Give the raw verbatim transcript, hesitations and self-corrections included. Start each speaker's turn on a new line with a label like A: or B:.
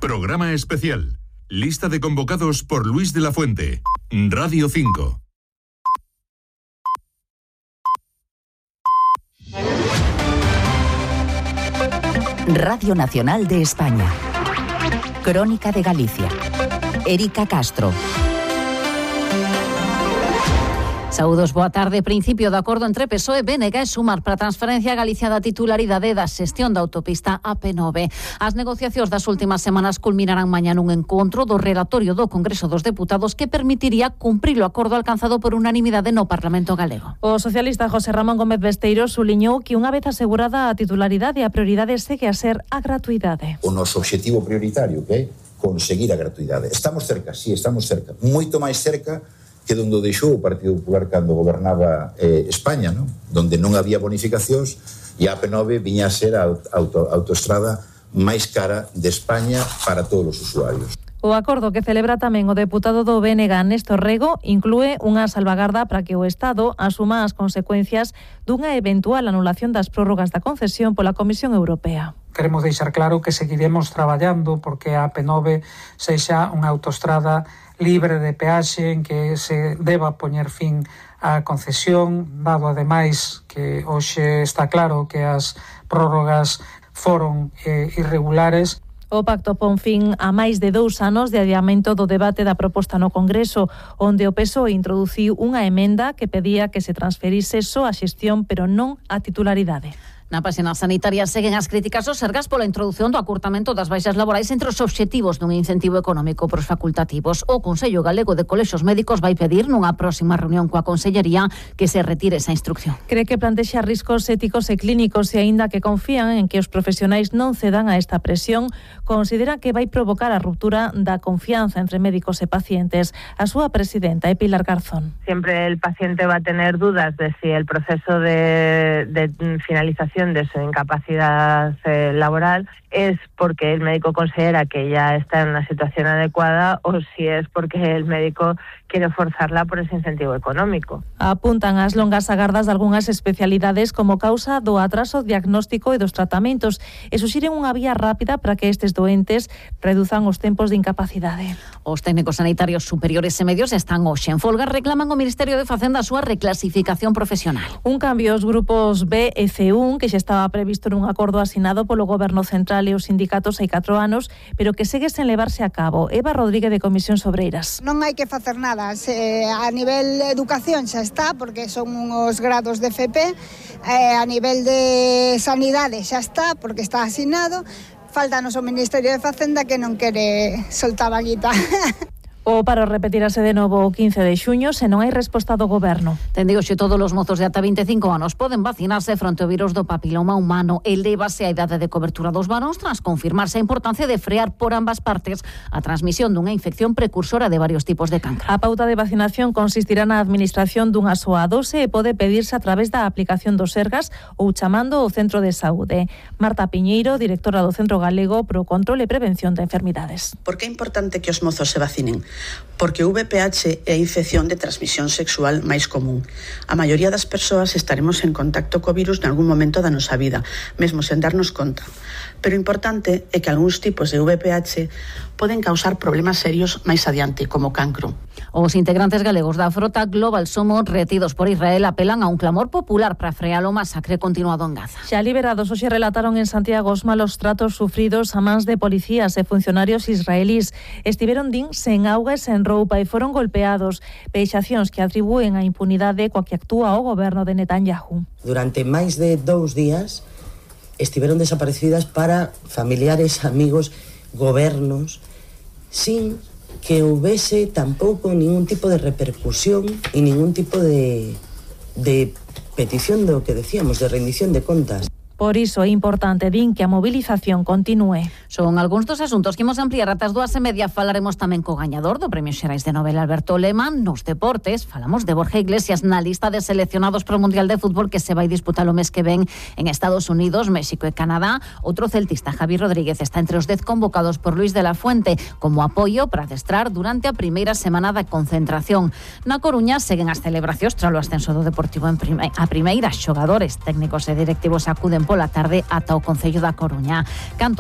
A: Programa especial. Lista de convocados por Luis de la Fuente. Radio cinco.
B: Radio Nacional de España. Crónica de Galicia. Erika Castro. Saúdos, boa tarde. Principio de acordo entre P S O E, B N G e Sumar para a transferencia a Galicia da titularidade da xestión da autopista A P nove. As negociacións das últimas semanas culminarán mañá nun encontro do relatorio do Congreso dos Deputados que permitiría cumprir o acordo alcanzado por unanimidade no Parlamento galego.
C: O socialista José Ramón Gómez Besteiro suliñou que unha vez asegurada a titularidade, a prioridade segue a ser a gratuidade.
D: O noso obxectivo prioritario que é conseguir a gratuidade. Estamos cerca, sí, estamos cerca. Moito máis cerca que donde deixou o Partido Popular cando gobernaba eh, España, ¿no? Donde non había bonificacións e a A P nove viña a ser a auto, autoestrada máis cara de España para todos os usuarios.
C: O acordo que celebra tamén o deputado do B N G, Néstor Rego, inclúe unha salvagarda para que o Estado asuma as consecuencias dunha eventual anulación das prórrogas da concesión pola Comisión Europea.
E: Queremos deixar claro que seguiremos traballando porque a A P nove sexa unha autoestrada libre de peaxe en que se deba poñer fin á concesión, dado ademais que hoxe está claro que as prórrogas foron eh, irregulares.
C: O pacto pon fin a máis de dous anos de adiamento do debate da proposta no Congreso, onde o P S O E introduciu unha emenda que pedía que se transferise só a xestión, pero non a titularidade.
B: Na páxina sanitaria seguen as críticas aos Sergas pola introdución do acurtamento das baixas laborais entre os obxectivos dun incentivo económico pros facultativos. O Consello Galego de Colexios Médicos vai pedir nunha próxima reunión coa Consellería que se retire esa instrucción.
C: Cree que plantexa riscos éticos e clínicos e aínda que confían en que os profesionais non cedan a esta presión, considera que vai provocar a ruptura da confianza entre médicos e pacientes. A súa presidenta é Pilar Garzón.
F: Siempre el paciente va a tener dudas de si el proceso de, de finalización de su incapacidad eh, laboral es porque el médico considera que ya está en una situación adecuada o si es porque el médico quiere forzarla por ese incentivo económico.
C: Apuntan as longas agardas de algunhas especialidades como causa do atraso diagnóstico e dos tratamentos e suxiren unha vía rápida para que estes doentes reduzan os tempos de incapacidade.
B: Os técnicos sanitarios superiores e medios están hoxe en folga, reclaman ao Ministerio de Facenda a súa reclasificación profesional.
C: Un cambio aos grupos B e C un que xa estaba previsto nun acordo asinado polo Goberno Central e os sindicatos hai catro anos, pero que segue sen levarse a cabo. Eva Rodríguez de Comisións Obreiras.
G: Non hai que facer nada. Se, a nivel de educación xa está, porque son uns grados de F P, eh, a nivel de sanidade xa está, porque está asinado. Faltanos o Ministerio de Facenda que non quere soltar a guita.
C: O paro repetirase de novo o quince de xuño se non hai resposta do Goberno.
B: Ten digo xe todos os mozos de ata vinte e cinco anos poden vacinarse fronte ao virus do papiloma humano. Elévase a idade de cobertura dos varóns tras confirmarse a importancia de frear por ambas partes a transmisión dunha infección precursora de varios tipos de cancro.
C: A pauta de vacinación consistirá na administración dunha soa dose e pode pedirse a través da aplicación dos Sergas ou chamando ao centro de saúde. Marta Piñeiro, directora do Centro Galego pro Control e Prevención de Enfermidades.
H: Por que é importante que os mozos se vacinen? Porque o V P H é a infección de transmisión sexual máis común. A maioría das persoas estaremos en contacto co virus nalgún momento da nosa vida, mesmo sen darnos conta. Pero o importante é que algúns tipos de V P H poden causar problemas serios máis adiante, como cancro.
B: Os integrantes galegos da frota Global Somos, retidos por Israel, apelan a un clamor popular para frear o masacre continuado en Gaza.
C: Xa liberados hoxe relataron en Santiago os malos tratos sufridos a mans de policías e funcionarios israelís. Estiveron, din, sen auga e sen roupa e foron golpeados. Vexacións que atribúen a impunidade coa que actúa o goberno de Netanyahu.
I: Durante máis de dous días estiveron desaparecidas para familiares, amigos, gobernos, sin que houvese tampouco ningún tipo de repercusión e ningún tipo de, de petición do que decíamos, de rendición de contas.
C: Por iso é importante, din, que a movilización continúe.
B: Son algúns dos asuntos que imos ampliar ata as dúas e media. Falaremos tamén co gañador do Premio Xerais de Novela Alberto Lema. Nos deportes falamos de Borja Iglesias na lista de seleccionados para o Mundial de Fútbol que se vai disputar o mes que ven en Estados Unidos, México e Canadá. Outro celtista, Javi Rodríguez, está entre os dez convocados por Luis de la Fuente como apoio para adestrar durante a primeira semana da concentración. Na Coruña seguen as celebracións tras o ascenso do Deportivo en prime- a primeira. Xogadores, técnicos e directivos acuden pola tarde ata o Concello da Coruña. Canto